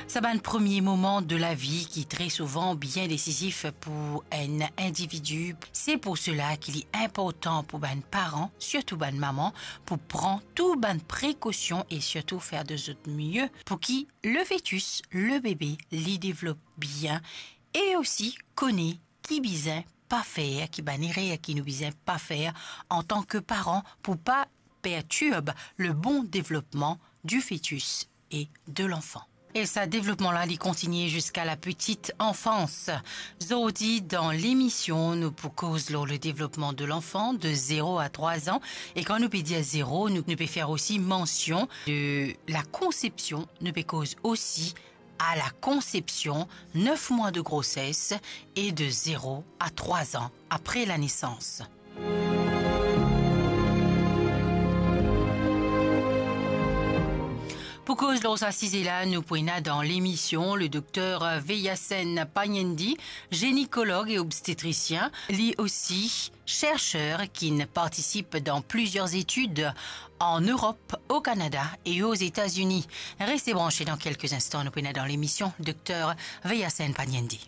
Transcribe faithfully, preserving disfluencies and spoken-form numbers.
Sa bann premie moman de lavi ki tre souvan bien desizif pou enn individi. Se pou sela ki li inportan pou bann paran, sirtou bann maman, pou pran tou bann prekosion e sirtou fer de zot mie pou ki le fetis, le bebe, li devlop bien e osi kone ki bizin pa fer, ki bann erer ki nou bizin pa fer antan ke paran pou pa perturb le bon devlopman du fetis e de lanfan. E sa devlopman la, li kontinie ziska la petite enfance. Zordi, dan lemision, nou pou koz lor le devlopman de lanfan de zero a trwa an. E kan nou pe dir zero, nou, nou pe fer osi mansion de la konsepsion. Nou pe koz osi a la konsepsion, nef mwa de groses e de zero a trwa an apre la nesans. Pou koz lor sa size la, nou pou ena dan lemision le dokter Veyasen Panyendi, gynécologue et obstétricien, li osi chercheur ki'nn partisip dan plizier etid an Erop, o Kanada e o Zetazini. Reste branche, dan kelke instan nou pou ena dan lemision dokter Veyasen Panyendi.